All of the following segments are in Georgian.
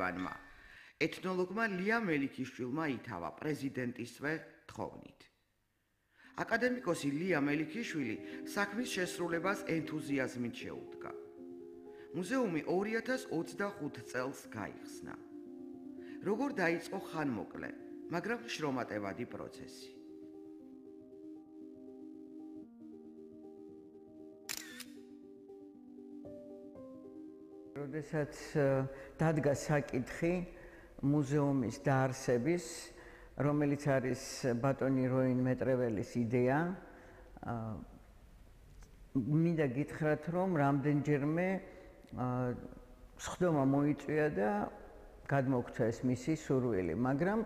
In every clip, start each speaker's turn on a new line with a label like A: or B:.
A: მკვლევარმა, ეთნოლოგმა ლია მელიქიშვილმა ითავა პრეზიდენტისვე თხოვნით. აკადემიკოსი ლია მელიქიშვილი საქმის შესრულებას ენთუზიაზმით შეუდგა. მუზეუმი 2025 წელს გაიხსნა. როგორ დაიწყო ხანმოკლე, მაგრამ შრომატევადი პროცესი.
B: როდესაც დადგა საკითხი მუზეუმის დაარსების, რომელიც არის ბატონი როინ მეტრეველის იდეა, მინდა გითხრათ, რომ რამდენჯერმე სხდომა მოიწვია და გადმოგცა ეს მისი სურვილი, მაგრამ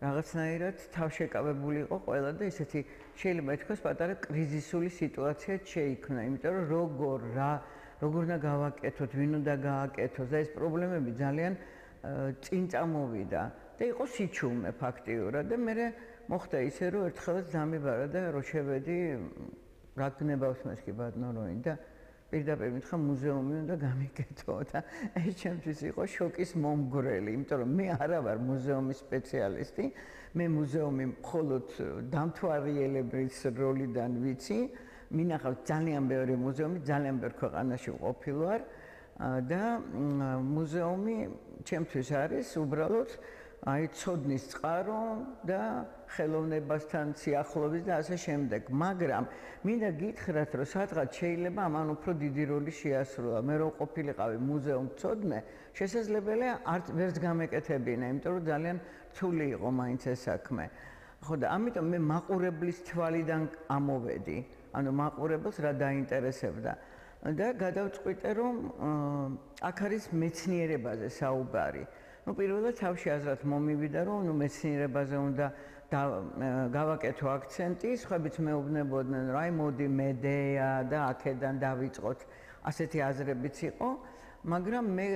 B: რაღაცნაირად თავშეკავებული იყო ყველა და ესეთი შეიძლება ითქვას პატარა კრიზისული სიტუაცია შეიქმნა, იმიტომ რომ როგორ უნდა გავაკეთოთ, ვინ უნდა გააკეთოს და ეს პრობლემები ძალიან წინ წამოვიდა და იყო სიჩუმე ფაქტიურად და მე მოხდა ისე რომ ერთხელაც დამიბარა და რო შევედი რა გნებავს მას კი ბატონო როინ და პირდაპირ მითხრა მუზეუმი უნდა გამიკეთო და ეს ჩემთვის იყო შოკის მომგვრელი, იმიტომ რომ მე არა ვარ მუზეუმის სპეციალისტი, მე მუზეუმი მხოლოდ დამთვალიერებლის როლიდან ვიცი, მინახავს ძალიან ბევრი მუზეუმი, ძალიან ბევრ ქვეყანაში ყოფილვარ და მუზეუმი ჩემთვის არის უბრალოდ ცოდნის წყარო და ხელოვნებასთან სიახლოვის და ასე შემდეგ. მაგრამ მინდა გითხრათ, რომ სადღაც შეიძლება ამან უფრო დიდი როლი შეასრულა. მე რო ყოფილიყავი მუზეუმმცოდნე, შესაძლებელია ვერც გამეკეთებინა, იმიტომ რომ ძალიან რთული იყო მაინც ეს საქმე. ხო და ამიტომ მე მაყურებლის თვალიდან ამოვედი. ანუ მაყურებელს რა დაინტერესებდა და გადავწყვიტე რომ აქ არის მეცნიერებაზე საუბარი. პირველად თავში აზრად მომივიდა რომ მეცნიერებაზე უნდა გავაკეთო აქცენტი, სხვაებიც მეუბნებოდნენ რომ აი მოდი მედეა და აქედან დავიწყოთ, ასეთი აზრებიც იყო, მაგრამ მე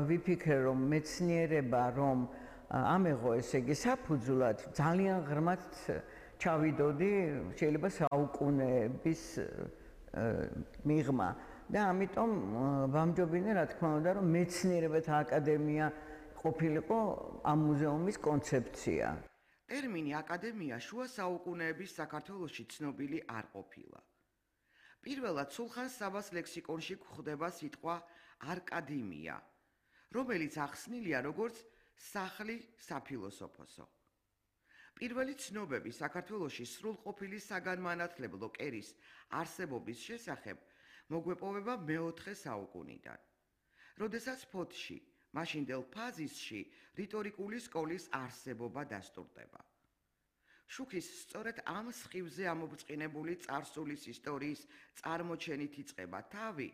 B: ვიფიქრე რომ მეცნიერება რომ ამეღო ესე იგი საფუძვლად ძალიან ღრმად ჩავიდოდი შეიძლება საუკუნეების მიღმა და ამიტომ ვამჯობინე რა თქმა უნდა რომ მეცნიერებათა აკადემია ყოფილიყო ამ მუზეუმის კონცეფცია.
A: ტერმინი აკადემია შუა საუკუნეების საქართველოში ცნობილი არ ყოფილა. პირველად სულხან საბას ლექსიკონში გვხვდება სიტყვა არკადემია, რომელიც ახსნილია როგორც სახლი საფილოსოფოსო. პირველი ცნობები საქართველოში სრულყოფილი საგანმანათლებლო კერის არსებობის შესახებ მოგვეპოვება მეოთხე საუკუნიდან, როდესაც ფოთში მაშინდელ ფაზისში რიტორიკული სკოლის არსებობა დასტურდება. შუქის სწორედ ამ სხივზე ამობრწყინებული წარსულის ისტორიის წარმოჩენით იწყება თავი,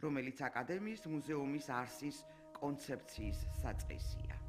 A: რომელიც აკადემიის მუზეუმის არსის კონცეფციის საწყისია.